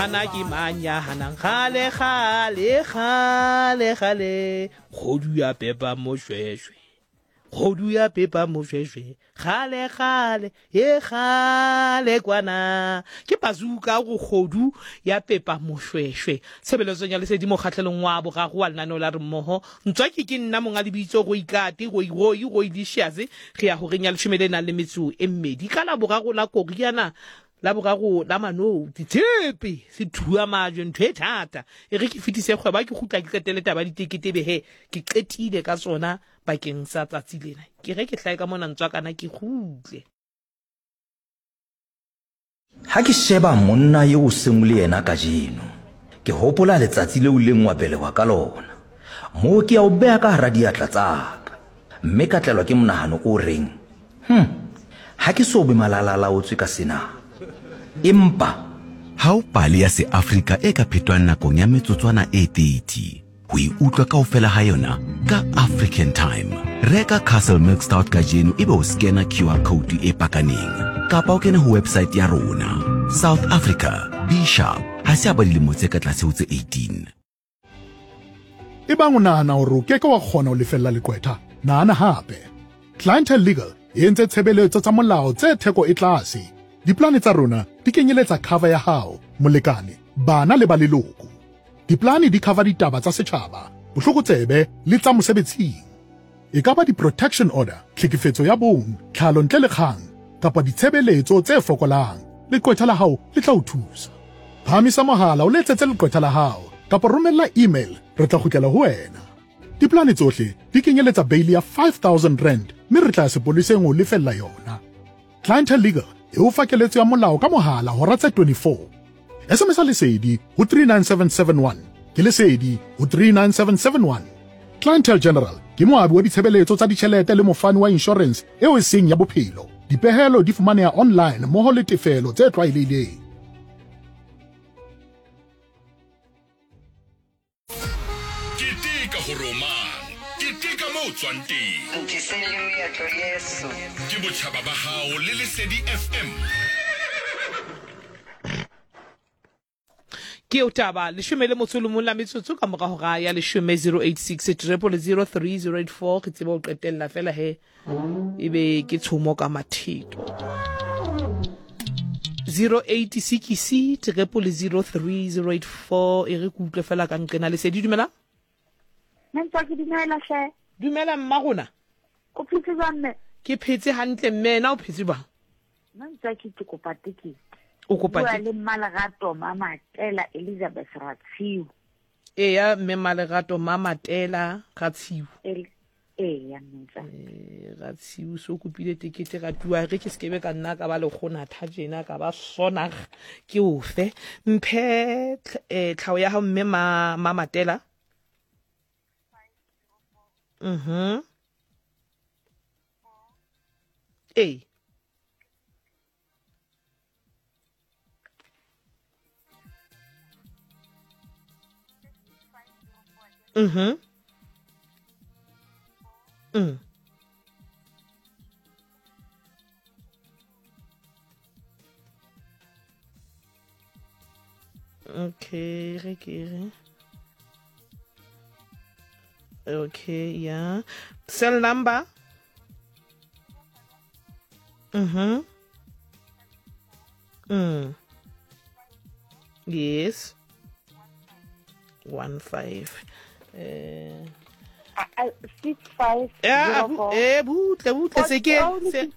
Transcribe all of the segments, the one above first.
Hana ke mang ya hanang kgale kgale kgale kgale kgodu ya pepa mošwešwe kgodu ya pepa mošwešwe kgale kgale ye kgale kwana ke bazuka go kgodu ya pepa mošwešwe tshebeletsong ya lesedi mokgahlelong wa bogago wa lenaneo la re mmogo ntswaki ke nna monga lebitso go ikate go igoi go ilicious re ya goreng ya lešome le nang le metso e mmedi ka la bogago la koriana La boraro la manou, ditshepe, sethua majwe, ntho e thata. E re ke fetise kgwebo, ha ke kgutla ke qetele taba ya ditekete ebe he ke qetile ka tsona bakeng sa tsatsi lena. Ke re ke hlahe ka mona ntswakana ke kgutle. Ha ke sheba monna eo o seng o le yena kajeno, ke hopola letsatsi leo o ileng wa belehwa ka lona. Moo ke ya o beha ka hara diatla tsa ka, mme ka tlelwa ke monahano o reng, Hum, ha ke so be malala-a-laotswe ka sena. Empa. Ha ho pale ya Seafrika e ka phetwang nakong ya metsotswana e 30. Ho e utlwa kaofela ha yona ka African Time. Reka Castle Milk Stout kajeno ebe o skena QR code e pakaneng kapa o kene ho website ya rona. South Africa, be sharp. Ha se a ba dilemo tse ka tlase ho tse 18. Ebang o nahana hore o ke ke wa kgona ho lefella leqwetha, nahana hape. Clientele Legal e entse tshebeletso tsa molao tse theko e tlase. Diplane tsa rona di kenyeletsa cover ya hao, molekane, bana le ba leloko. Diplane di cover ditaba tsa setjhaba, bohlokotsebe le tsa mosebetsing. E ka ba di-protection order, tlhekefetso ya bong, tlhalo ntle le kgang, kapa ditshebeletso tse fokolang, leqwetha la hao le tla o thusa. Phahamisa mohala o letsetse leqwetha la hao kapa romella email re tla kgutlela ho wena. Diplane tsohle di kenyeletsa beili ya R5000 mme re tla ya sepoleseng ho lefella yona. Clientele Legal e o fa keletso ya molao ka mohala hora tse 24. SMS-a Lesedi ho 39771. Ke Lesedi ho 39771. Clientele General ke moabi wa ditshebeletso tsa ditjhelete le mofani wa inshorense eo e seng ya bophelo. Dipehelo di fumaneha online mmoho le tefelo tse tlwaelehileng. Keteka gore o mang, keteka mo o tswang teng. Ntiseng le meetlo yeso. Ke botšhaba ba gago le Lesedi FM. Ke eo taba, leshome le motso o le mong la metsotso ka morago ga ya leshome 086 000 3084 re tsebe go qetella fela he e be ke tshomo ka matheto 086 0003084 e re ke utlwe fela ka nqena lesedi dumela Nna ke dumela hle. Dumela mma rona. O phetse jwang mme? Ke phetse hantle mme na o phetse jwang? Nna ntse ke ke kopa tekete. O kopa tekete. Le Mmalerato Mamatela Elizabeth Ratshiu. Eya mme Mmalerato Mamatela Ratshiu. Eya mmetsa. Eh, Ratshiu so kopile tekete ra tua re ke sekebe ka nna ka ba lekgonatha tjena ka ba sonag ke ofe mphe eh, tlhao ya hao mme ma Mamatela. Mhm. Ee. Mhm. Mm. Okay, re ke re. Okay, yeah. Cell number? Mhm. Mm. Yes. 1 5. Eh 6 5 eh butle butle se ke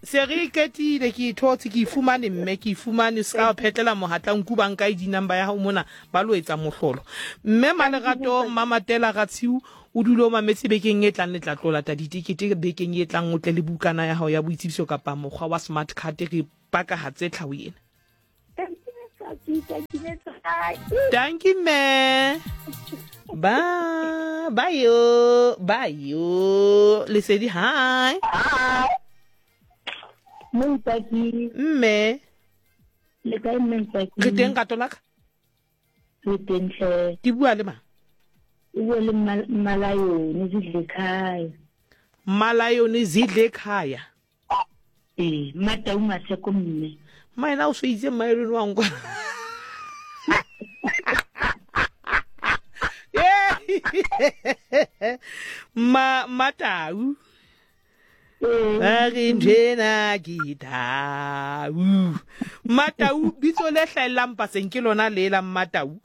se re qetile ke ithotse ke ifumane mme ke ifumane se ka phetlela mohatla nku ba nka ID number ya hao mona ba lo etsa mohlolo mme malerato mamatela ratshiu O dule o mametse bekeng e tlang le tla tlo lata ditekete bekeng e tlang o tle le bukana ya hao ya boitsebiso kapa mokgwa wa smart card re pakahatse tlhao ena. Dankie mme. Ba ba yo ba yo Lesedi hi. Mme. Le kae mme Ntswaki? Re teng rato la ka. Re teng hle. Ke bua le mang? O bua le Mmalayone Zidlekhaya. Mmalayone Zidlekhaya. Ee, Mmatau Maseko mme. Mma ena o so itse Mmaelone wa nkwa. Ma Matau. A re nthwena ke tau. Matau bitso le hlaellang paseng ke lona le la Mmatau.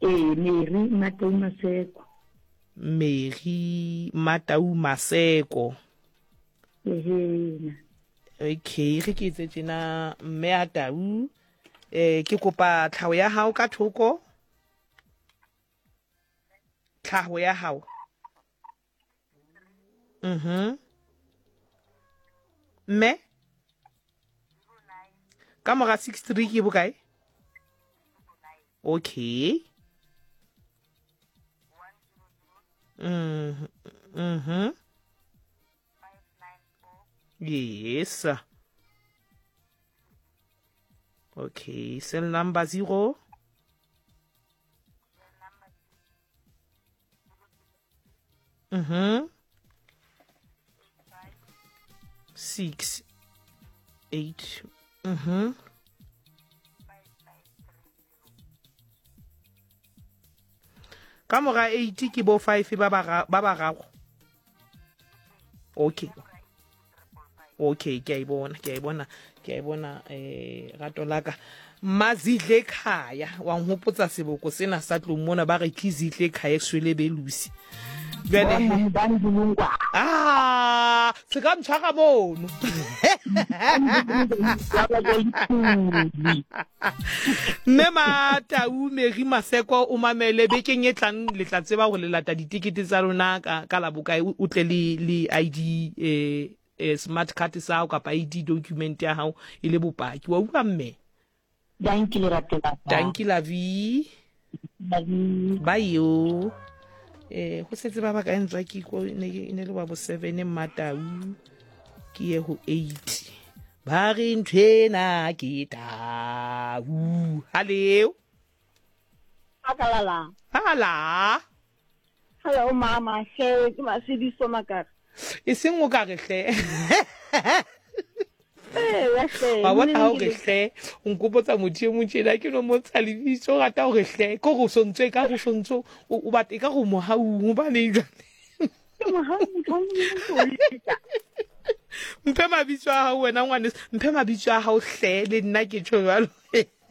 Ee, Mary Matau Maseko. Mary Matau Maseko. Ehena. Okay, ge ke etse tjena mme a tau eh ke kopa tlhaho ya hao ka thoko. Tlhaho ya hao. Mhm. Mme ka mora 63 ke bokae? Okay. Mhm. Mhm. Yes. Okay, cell number 0. Mhm. 6 8. Mhm. Ka mora 8 ke bo 5 ba ba ba bararo. Okay. Okay, ke a e bona, ke a e bona, ke a e bona eh rato la ka. Mazidle khaya wa nhopotsa seboko sena sa tlong mona ba re ke zidle khaya swele belusi. Jwale ah se ka ntshwara mono. Mme Matau Mary Maseko o mamele bekeng e tlang le tla tseba gore le lata ditekete tsa lona ka, ka la bokae o tle le, le ID eh, eh, smart card sa hao kapa ID document ya hao e le bopaki wa utlwa mme Danki lerato la ka. Danki lavi Lavi. Bye yo. Eh go setse ba ba ka ntswa ke ko ne ke ne le wa bo 7 mmatau ke ye ho 8. Ba re nthwena ke tau. Haleo. Akalala. Hala. Hello mama, hle ke Masediso Makare. E seng o ka re hle. Eya hle. Wa bona ha o re hle, o nkopotsa motho e mong tjena ke no mo ntsha lebitso, o rata hore hle, ke hore o sontso e ka go sontso o batla e ka go mohaung hobaneng jwale. Ke mohaung Mphe mabitso a hao wena ngwaneso, mphe mabitso a hao hle le nna ke tjho jwalo.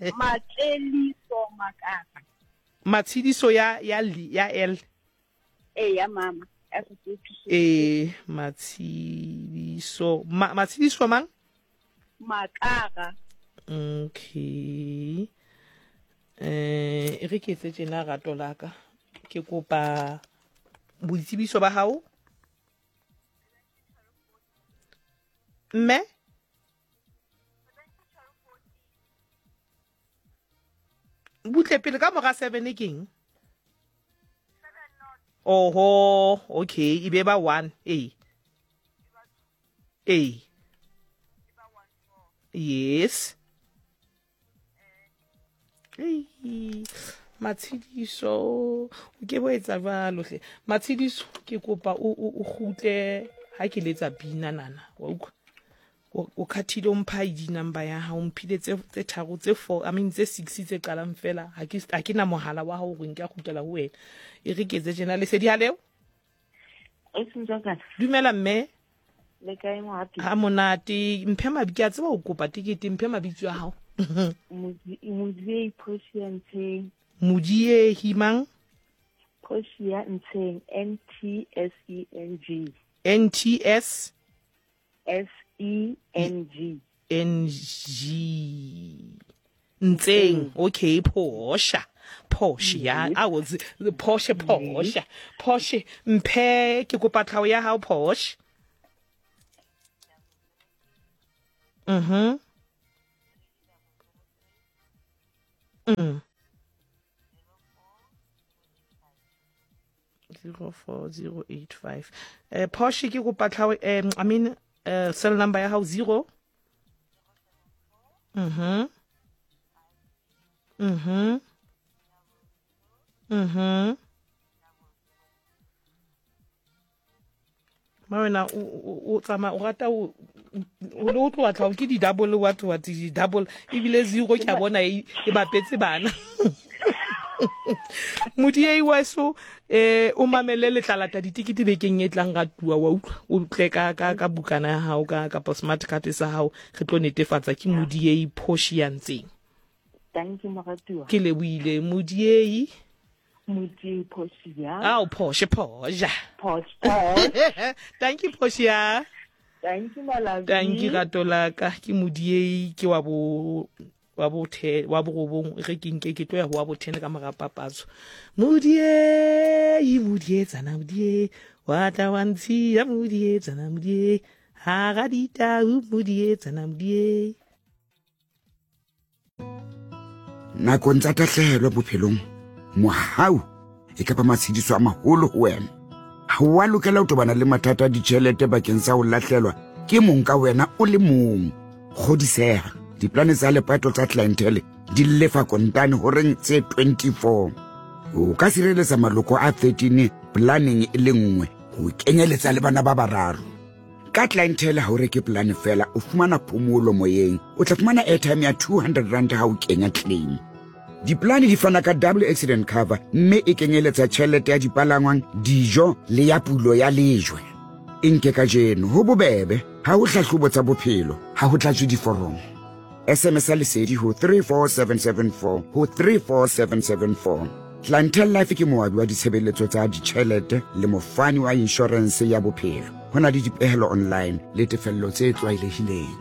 Matseliso Makara. Matshediso ya ya L ya L. Ee ya mama ya Sesotho. Ee Matshediso ma, Matshediso mang? Makara. Okay. Eh e re ke etse tjena rato la ka. Ke kopa boitsebiso ba hao. Mme butle pele ka mora seven keng oho okay e be ba one ee ee yes Ei, matshediso o ke bo etsa jwalo hle matshediso ke kopa o o kgutle ha ke letsa pina nana wa utlwa o khathile o mpha ID number ya hao mphile tse tse tharo tse four I mean tse six tse qalang fela ha ke ha ke na mohala wa hao hore nka kgutlela ho wena e re ke etse tjena lesedi ha leo dumela mme le kae mohapi ha monate mphe mabi ke a tseba o kopa tekete mphe mabitso a hao Modiehi Portia Ntsheng Modiehi mang Portia Ntsheng N T S E N G N T S S E N G. N G. Ntseng. Okay, Porsche. Porsche ya. I was Porsche Porsche. Porsche mphe ke kopa tlhaho ya hao Porsche. Mhm. Mm. 04085 eh Porsche ke kopa tlhaho eh, I mean eh, cell number ya hao 0 Mhm. Mhm. Mhm. Ma wena o o tsamaya o rata o o le o tloa tlhago ke di-double what what di-double ebile zero ke a bona e, e bapetse bana. Modiei weso eh o mamele letlalata ditikete bekeng e tlang ga tua wa utlwa o tle ka ka ka bukana ya hao ka kapa smart card sa hao re tlo netefatsa ke Modiei Portia ntseng. Thank you moratuwa. Ke lebohile Modiei. Modiei Portia. Ao Porsche Porsche. Porsche Porsche. Thank you Portia. Thank you my Thank you rato la ka ke Modiei ke wa bo wa bo the wa borobong ge ke nke ke tlo ya go wa bothene ka mora papatso modiei modietsana modiei wa tla wa ntshiya modietsana modiei ha ga ditau modietsana modiei Nakong tsa tahlehelo bophelong, mohau e ka ba matshediso a maholo ho wena. Ha o a lokela ho tobana le mathata a ditjhelete bakeng sa ho lahlelwa ke mong ka wena o le mong. Kgodiseha, diplane tsa lepato tsa Clientele di lefa kontane horeng tse 24. O ka sireletsa maloko a 13 planeng e le nngwe ho kenyeletsa le bana ba bararo. Ka Clientele ha o reke polane fela, o fumana phomolo moyeng. O tla fumana airtime ya 200 rand ha o kenya claim. Dipolane di fana ka double accident cover mme e kenyeletsa tjhelete ya dipalangwang, dijo le ya pulo ya lejwe. E nke kajeno, ho bobebe, ha ho hlahlobo tsa bophelo, ha ho tlatswe diforomo. SMS ya lesedi ho 34774 ho 34774. Clientele Life ke moabi wa ditshebeletso tsa ditjhelete le mofani wa inshorense ya bophelo. Ho na le dipehelo online le tefello tse tlwaelehileng.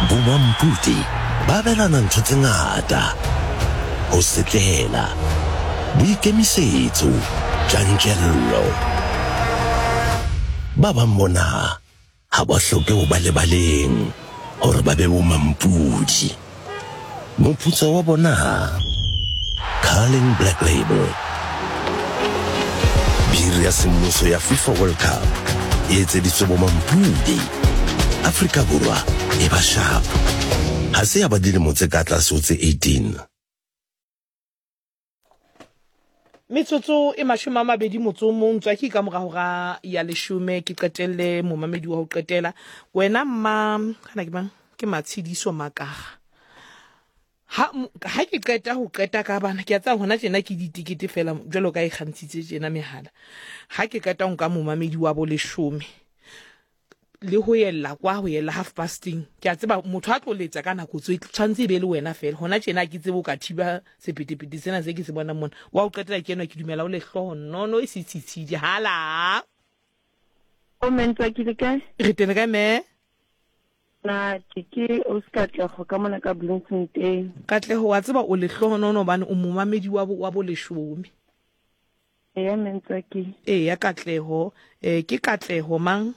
Bomampudi ba abelana ntho tse ngata, ho setlela, boikemisetso, tjantjello. Ba bang bona ha ba hloke ho ba lebaleng hore ba be bomampudi. Moputso wa bona? Carling Black Label. Biri ya semmuso ya FIFA World Cup e etseditswe bomampudi. Afrika Borwa e ba sharp. Ha se ya ba dilemo tse ka tlase ho tse 18. Metsotso e 20 motso o mong tswaki ka mora hora ya leshome ke qetelle momamedi wa ho qetela. Wena mma kana ke mang? Ke Matshidiso Makaga. Ha ha ke qeta ho qeta ka bana ke a tseba hona tjena ke ditekete fela jwalo ka e kgantshitse tjena mehala. Ha ke qeta ho nka momamedi wa bo leshome le ho yella kwa ho yella half pasting ke a tseba motho a tlo letsa ka nako tso tshwanetse e be le wena fela hona tjena ke tsebe o ka thiba sepetepete sena se ke se bonang mona wa o qetela ke enwa ke dumela o lehloho nono e setshitshidi hala O mentwa ke le kae? Re teng kae me? Na ke ke o se Katlego ka mona ka Bloemfontein. Katlego wa tseba o lehlohonono hobane o momamedi wa bo wa boleshome. Eya Mentswaki. Eya Katleho, eh ke Katleho mang?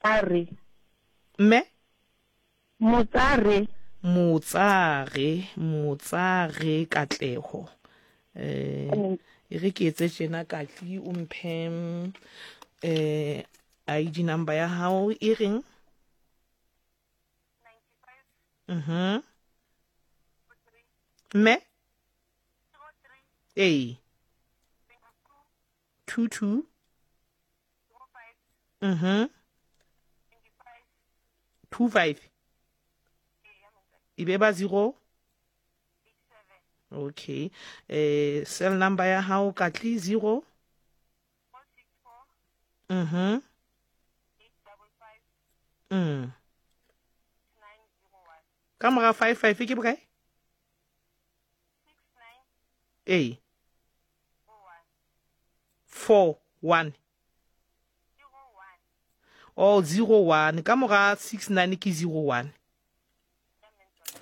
Tsare. Mme? Motsare. Motsare, Motsare Katleho. Eh e re ke etse tjena Katli o mphe eh ID number ya hao e reng? Mhm. Mme? Ee. 22. Mhm. 25. E be ba 0. Okay. Eh cell number ya hao Katli 0. Mhm. Mm. Ka mora 55 ke bokae? Ee. 4 1. Oh, 0 1. Ka mora 6 9 ke 0 1.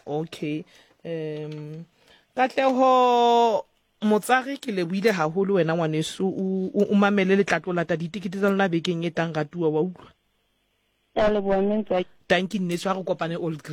Okay. Um Katleho Motsare ke lebohile haholo wena ngwaneso o o mamele le tla tlo lata ditekete tsa lona bekeng e tang ratuwa wa utlwa. Ke a leboha mme Ntswaki. Tanki nneso ha re kopane Old Grey.